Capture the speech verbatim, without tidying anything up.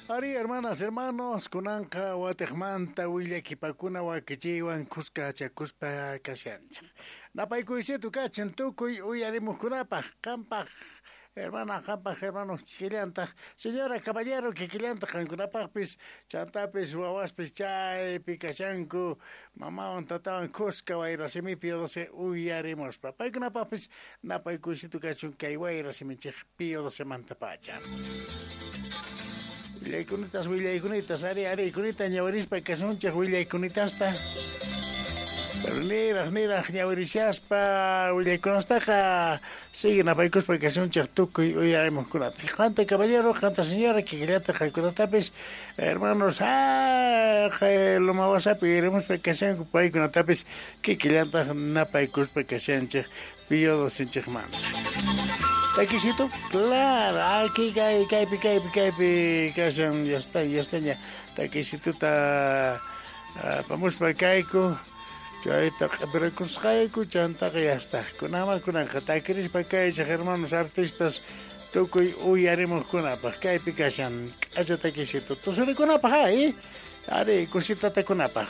Ari, hermanas, hermanos, kunanqa watiqmanta willakipakuna wakichiywan kuska chakuspa kashanchik. Napaykuysitu kachin tukuy uyarimuqkunapaq, qampaq, hermana, qampaq, hermanos, kikillantaq, señora, caballero, kikillantaq qankunapaqpis, chantapis, wawaspis chaypi kashanku, mamawan tatawan kuska wayrasimi Pío doce uyarimuspa. Paykunapaqpis napaykuysitu kachun kay wayrasiminchik Pío doce mantapacha. Willaykunatas, willaykunatas, ari, ari, kunita ñawirispa kasunchik willaykunitasta. Pero niraq, niraq ñawirishaspa willaykunastaqa sigue napaykuspa kasunchik tukuy uyarimuqkunata. Qanta caballero, qanta señora, kikillata qankunatapis, hermanos, ah, Loma Wasapi uyarimuspa kashanku paykunatapis kikillantaq napaykuspa kashanchik Pío docenchikmanta. Taquisito, claro, aquí kay kaypi kaypi kaypi kashan, ya está, ya está ya. Taquisituta apamuspa kayku, chayta q'ipirakusqayku, chantaqa ya está. Kunama kunanqa takirispa kaychik hermanos artistas tukuy uyarimuqkunapaq kaypi kashan k'acha taquisito. Tusurikunapaq, ay, ari kusitatakunapaq.